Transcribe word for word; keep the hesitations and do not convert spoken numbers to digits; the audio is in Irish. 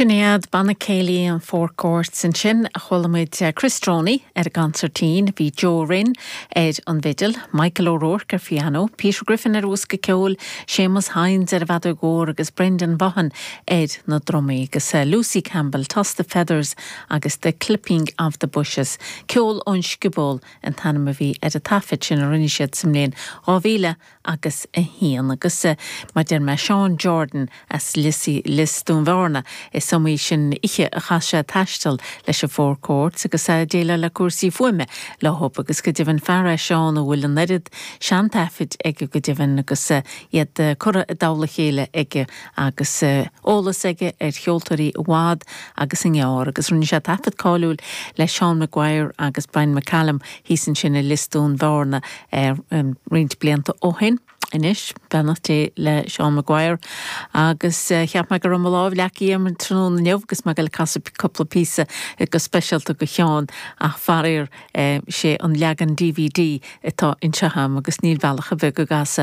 Sin iad banna céilí an Four Courts ansin a chuala muid eh, Chris Droney ar an gconsairtín, bhí Joe Rinn ar an bhfidil, Michael O'Rourke ar piano, Peter Griffin ar bhosca ceoil, Seamus Hines ar an bhfeadóg mhór agus Brendan Vaughan ar na drumaí agus eh, Lucy Campbell, Toss the Feathers agus The Clipping of the Bushes. Ceol ón Scioból an t-ainm a bhí ar an taifead sin a rinne siad sa mbliain dhá mhíle agus a haon agus eh, mar deir mé Sean Jordan as Lissy Lios Dún Bhearna is iomaí sin oíche a chaith sé taisteal leis an Four Courts agus é déileáil le cúrsaí fuaime leo agus go deimhin fear é Seán a bhfuil an oiread seantaifid aige go deimhin agus eh, iad eh, curtha i dtoll a chéile aige agus eolas aige ar cheoltóirí i bhfad agus i ngearr agus rinne sé taifead cáiliúil le Sean Maguire agus Brian McCallum thíos ansin i Lios Dún Bhearna ar um, roinnt blianta ó shin. Anois beannacht Dé le Sean Maguire agus uh, cheap mé go raibh mo lámh leagtha agam an tráthnóna inniu agus mé ag casadh cúpla píosa go speisialta do Sheán ach faraor eh, sé an leagan DVD atá anseo agam agus níl bealach a bheith go gasa